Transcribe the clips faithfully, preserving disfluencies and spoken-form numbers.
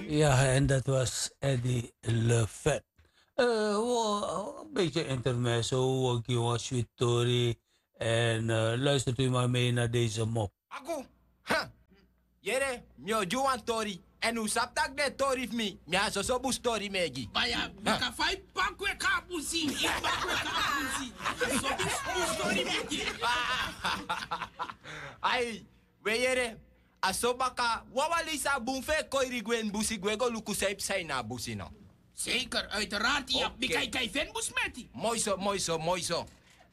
Ja, en dat was Eddie Lefet. Eh, wo, een beetje intermezzo, wo gi wan sweet tori. En eh, luistert u maar mee naar deze mop. Aku, ha, yere, mi o gi wan tori. En un sabi taki den tori fu mi, mi a soso bus tori mi e gi. Baya, bika fa i pakwe ka busi, i pakwe ka busi. A so bus, bus tori mi e gi. Ai, we yere, a so baka, wawan leisi a bun fu e koiri gwe ini busi, gwe go luku san e psa ini a busi no. Zeker, uiteraard, ya, bika i kan feni bus meti. Moi so, moi so, moi so.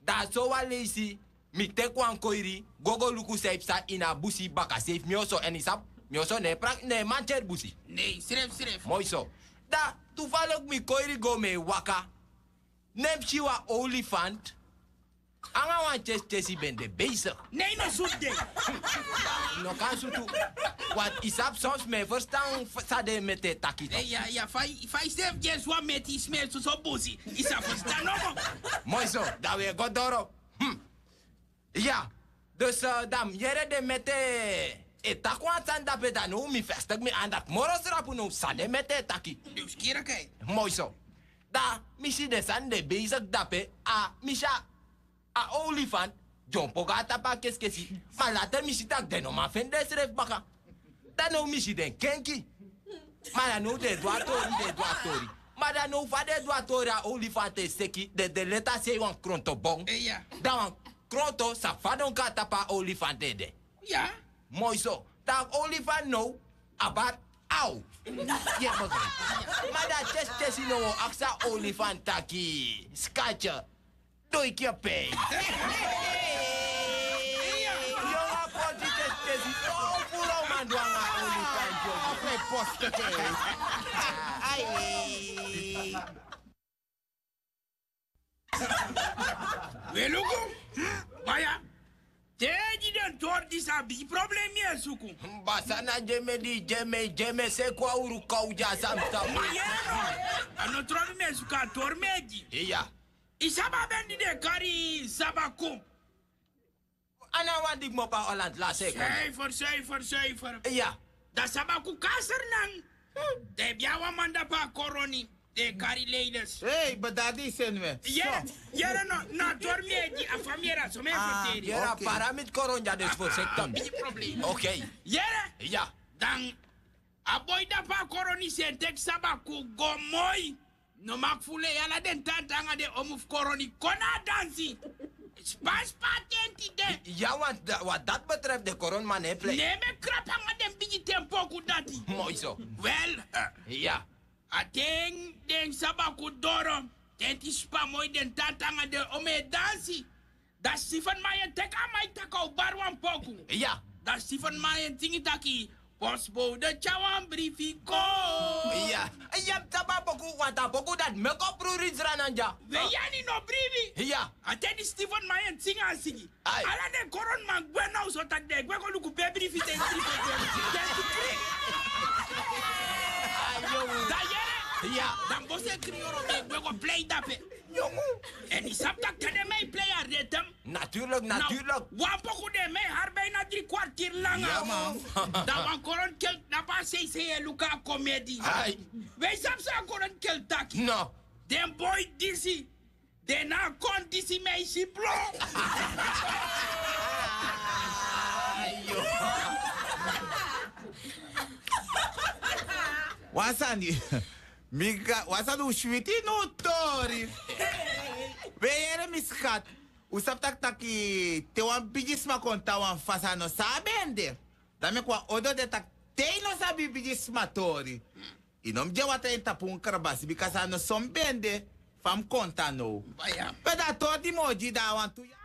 Da a so wan leisi, mi teki wan koiri, go go luku san e psa ini a busi baka seif mi oso, en i sabi, mi oso no e prak-, no e mantyeri busi. Nei, srefi, srefi. Moi so. Da, toevallig mi koiri go mi e waka. Ne mi si wan olifant. Anga wan tyesi tyesi ben de bezig. Nei, no sutu den. No kan sutu. Want i sabi soms mi e ferstan f-, san den meti e taki. Nei, ya, ya, fa i, fa i srefi gi en so wan meti, i smeri soso busi. I sa ferstan nomo. Moi so, da wi e go doro. Hmm. Ya, dus eh, da mi yere den meti e taki wan sani dape, da now mi festigi mi andak moro srapu now san den meti e taki. Nieuwsgierigheid. Moi so. Da mi si den sani de bezig dape, a mi si a olifant dyompo go na tapu a kesikesi. Ma later mi si taki den no man feni densrefi baka. Da now mi si den kenki. Ma da now den e du a tori, den e du a tori. Ma da now fa den e du a tori, a olifant e seki, den, den leti a sei wan kronto bon. Eh, ya. Da wan kronto sa fadon kon na tapu a olifant ede. Ya. Moi so. Da a olifant now a bari aw. Ye, begrijp. Ma da tyesi tyesi now o aksi a olifant taki: Schatje, doe ik je pijn? Yongu, a poti tyesi tyesi. O, o furu a uman du anga a olifant, yongu. A fu e poste. Ai. We luku. Baya. Te gi den tori disi, a bigi problem mi e suku. Basa na gi en, mi e gi en, mi e gi en, mi e seki wan uru kaw gi a sani tapu. Ma yere no. A no tori mi e suku, a tori mi e gi. Iya. I sabi a ben di den e kari sabaku. A na wan digi mopo a Holland lasi e kon. Zuiver, zuiver, zuiver. Iya. Da sabaku kon na Sranan. Den abi wan man dape a koroni. Den e kari leiders. Hei, bedadi seni we. Yere, yere no, na tori mi e gi, a fa mi yere a so mi e ferteri. Yere a paramiti koroni dya, dus voorzichtig. Bigi problem. Oké. Yere. Iya. Dan a boi dape a koroni, san e teki sabaku go moi. No maki fu lei, ala den tanta anga den omu fu koroni kon na a dansi. Spa spa tenti de. Ya, want da-, wat dat betreft, den koroniman no e plei. Ne mi e krapu anga den bigi ten poku dati. Moi so. Wel, eh, ya. A ten den sabaku doro, tenti spa moi, den tanta anga den omu e dansi. Da Stephen Mayen teki a maiki taki a o bari wan poku. Ya. Da Stephen Mayen singi taki: Postbode tyari wan brifi kon. Ya. Ya, mi sabi a poku, want a poku dati meki opru reach Sranan dya. We, ya, a no brifi. Ya. A ten di Stephen Mayen singi a singi, ai, ala den koroniman gwe now, so taki den e gwe go luku pe brifi de, brifi de. Den e kri. Ai, yongu. Da yere. Ya. Da mi bosi e kri yoro, den e gwe go plei dape. Yongu. En i sabi taki te den man e plei a ritme. Natuurlijk, natuurlijk. Wan poku den man e hari bijna drie kwartier langa. Ya, man. Da wan koronikel dape a sei sei e luku a komedi. Ai. We sabi san a koronikel taki? No. Den boi disi, den na a kondisi mi e si blo. Ayo. Wan sani. Mi ga-, wan sani, un switi na un tori. We yere, mi skat. Un sabi taki, taki te wan bigisma kon tan wan fasi, a no san a ben de. Dan meki wan odo de taki, te i no sabi bigisma tori, i no mus gi en watra ini tapu un krabasi, bikasi a no so mi ben de fa mi kon tan now. Pe da a tori di mi o gi, da a wantu yari.